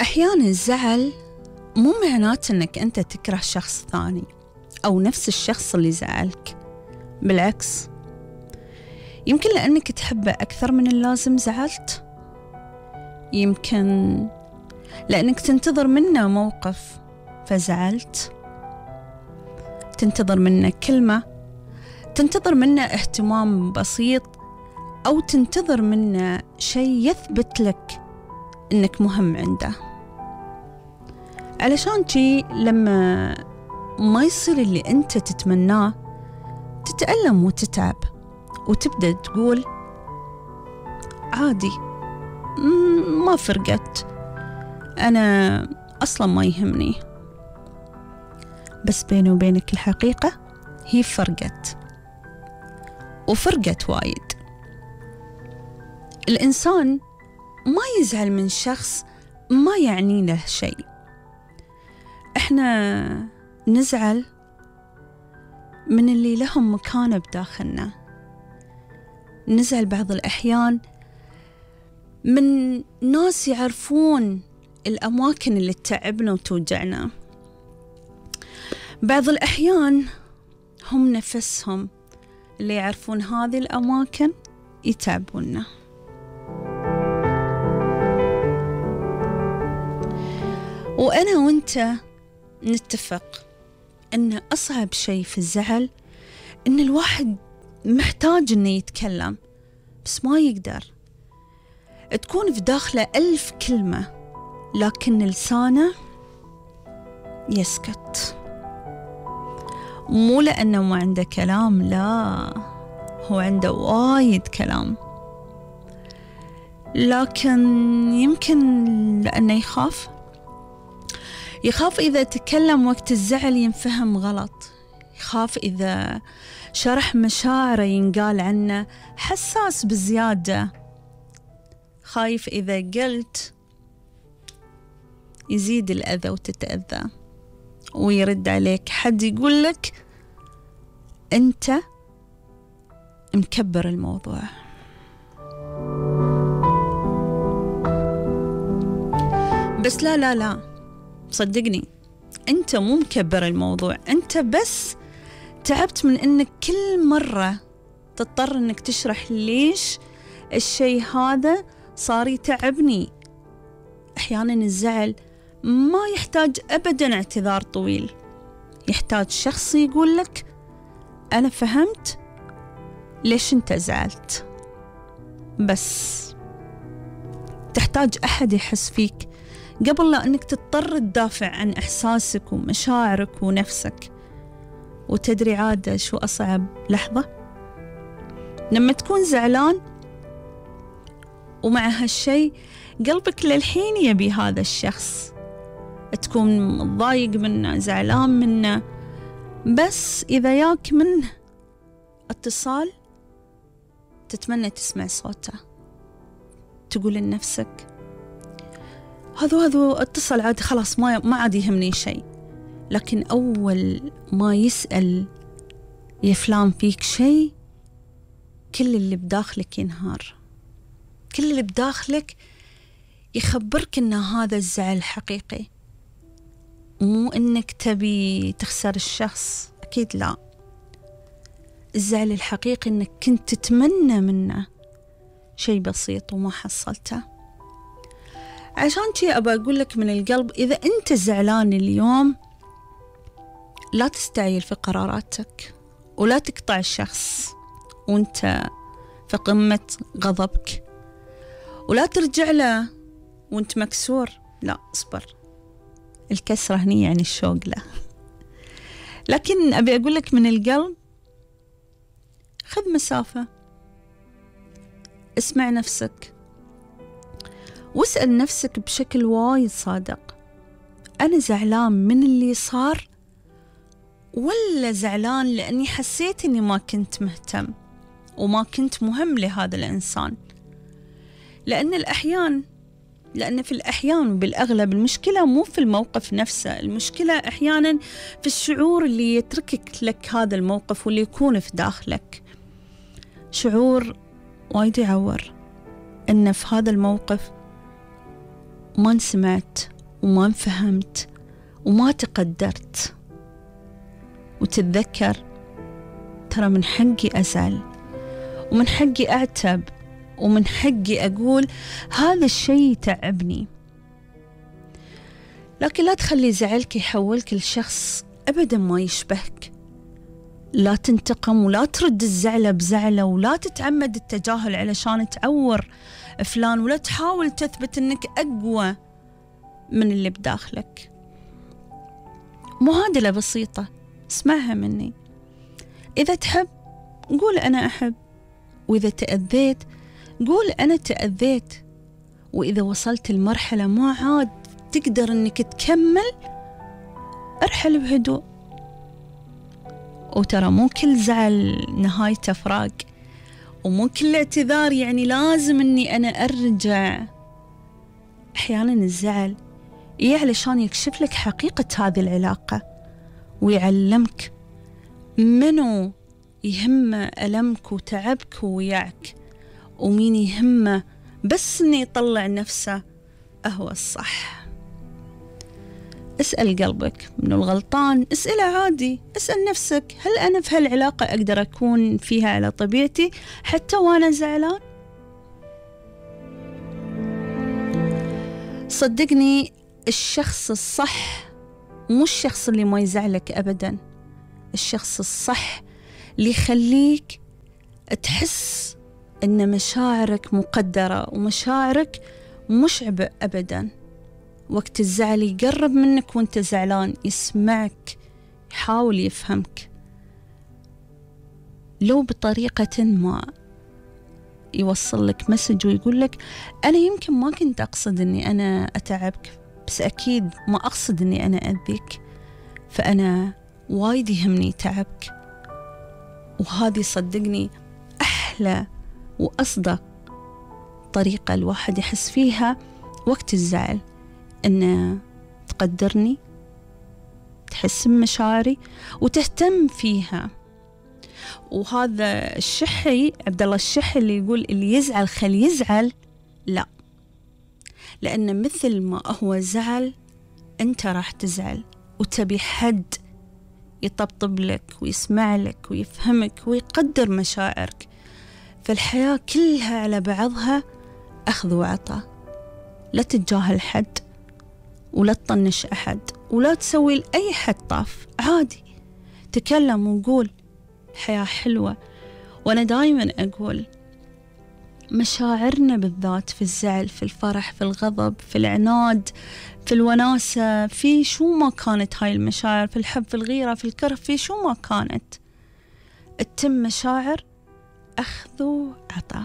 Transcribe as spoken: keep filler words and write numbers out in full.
أحيانا الزعل مو معناته أنك أنت تكره شخص ثاني أو نفس الشخص اللي زعلك، بالعكس، يمكن لأنك تحبه أكثر من اللازم زعلت، يمكن لأنك تنتظر منه موقف فزعلت، تنتظر منه كلمة، تنتظر منه اهتمام بسيط، أو تنتظر منه شيء يثبت لك إنك مهم عنده. علشان شي لما ما يصير اللي أنت تتمناه تتألم وتتعب وتبدأ تقول عادي، ما فرقت، أنا أصلا ما يهمني. بس بيني وبينك الحقيقة هي فرقت، وفرقت وايد. الإنسان ما يزعل من شخص ما يعني له شيء، إحنا نزعل من اللي لهم مكانة بداخلنا، نزعل بعض الأحيان من ناس يعرفون الأماكن اللي تتعبنا وتوجعنا، بعض الأحيان هم نفسهم اللي يعرفون هذه الأماكن يتعبوننا. وأنا وأنت نتفق أن أصعب شيء في الزعل أن الواحد محتاج أنه يتكلم بس ما يقدر، تكون في داخله ألف كلمة لكن لسانه يسكت، مو لأنه ما عنده كلام، لا، هو عنده وايد كلام، لكن يمكن لأنه يخاف يخاف إذا تكلم وقت الزعل ينفهم غلط، يخاف إذا شرح مشاعره ينقال عنه حساس بزيادة، خايف إذا قلت يزيد الأذى وتتأذى، ويرد عليك حد يقول لك أنت مكبر الموضوع. بس لا لا لا صدقني، أنت مو مكبر الموضوع، أنت بس تعبت من أنك كل مرة تضطر أنك تشرح ليش الشيء هذا صار يتعبني. أحيانا الزعل ما يحتاج أبدا اعتذار طويل، يحتاج شخص يقول لك أنا فهمت ليش أنت زعلت، بس تحتاج أحد يحس فيك قبل لا أنك تضطر تدافع عن إحساسك ومشاعرك ونفسك. وتدري عادة شو أصعب لحظة؟ لما تكون زعلان ومع هالشي قلبك للحين يبي هذا الشخص، تكون متضايق منه، زعلان منه، بس إذا ياك منه اتصال تتمنى تسمع صوته، تقول لنفسك هذا هذا اتصل عادي، خلاص ما ما عاد يهمني شيء. لكن أول ما يسأل يا فلان فيك شيء، كل اللي بداخلك ينهار، كل اللي بداخلك يخبرك إن هذا الزعل حقيقي، مو إنك تبي تخسر الشخص، أكيد لا. الزعل الحقيقي إنك كنت تتمنى منه شيء بسيط وما حصلته. عشان شي أبى أقول لك من القلب، إذا أنت زعلان اليوم لا تستعجل في قراراتك، ولا تقطع الشخص وانت في قمة غضبك، ولا ترجع له وانت مكسور، لا، اصبر، الكسرة هني يعني الشوق له. لكن أبي أقول لك من القلب، خذ مسافة، اسمع نفسك، واسأل نفسك بشكل وايد صادق، أنا زعلان من اللي صار ولا زعلان لأني حسيت أني ما كنت مهتم وما كنت مهم لهذا الإنسان؟ لأن الأحيان لأن في الأحيان وبالأغلب المشكلة مو في الموقف نفسه، المشكلة أحيانا في الشعور اللي يتركك لك هذا الموقف واللي يكون في داخلك. شعور وايد يعور إن في هذا الموقف ما انسمعت وما انفهمت وما تقدرت. وتتذكر ترى من حقي أزعل، ومن حقي أعتب، ومن حقي أقول هذا الشيء تعبني. لكن لا تخلي زعلك يحولك لشخص أبدا ما يشبهك. لا تنتقم ولا ترد الزعلة بزعلة، ولا تتعمد التجاهل علشان تعور فلان، ولا تحاول تثبت أنك أقوى من اللي بداخلك. معادلة بسيطة اسمعها مني، إذا تحب قول أنا أحب، وإذا تأذيت قول أنا تأذيت. وإذا وصلت المرحلة ما عاد تقدر أنك تكمل ارحل بهدوء. وترى مو كل زعل نهايته فراق، ومو كل اعتذار يعني لازم أني أنا أرجع. أحيانا الزعل إيه علشان يكشف لك حقيقة هذه العلاقة، ويعلمك منو يهمه ألمك وتعبك وياك، ومين يهمه بس إنه يطلع نفسه أهو الصح. اسأل قلبك منو الغلطان، اسأله عادي، اسأل نفسك هل أنا في هالعلاقة أقدر أكون فيها على طبيعتي حتى وأنا زعلان؟ صدقني الشخص الصح مو الشخص اللي ما يزعلك أبدا، الشخص الصح اللي يخليك تحس إن مشاعرك مقدرة ومشاعرك مش عبء أبدا. وقت الزعل يقرب منك وانت زعلان، يسمعك، يحاول يفهمك، لو بطريقة ما يوصل لك مسج ويقول لك أنا يمكن ما كنت أقصد أني أنا أتعبك، بس أكيد ما أقصد أني أنا أذيك، فأنا وايد يهمني تعبك. وهذه صدقني أحلى وأصدق طريقة الواحد يحس فيها وقت الزعل، أن تقدرني، تحس بمشاعري وتهتم فيها. وهذا الشحي عبد الله الشحي اللي يقول اللي يزعل خل يزعل، لا، لأن مثل ما هو زعل أنت راح تزعل، وتبي حد يطبطب لك ويسمع لك ويفهمك ويقدر مشاعرك. فالحياة كلها على بعضها أخذ وعطاء. لا تتجاهل حد، ولا تطنش أحد، ولا تسوي لأي حد طاف، عادي تكلم وقول الحياة حلوة. وأنا دايما أقول مشاعرنا بالذات في الزعل، في الفرح، في الغضب، في العناد، في الوناسة، في شو ما كانت هاي المشاعر، في الحب، في الغيرة، في الكره، في شو ما كانت، التم مشاعر أخذ وعطاء.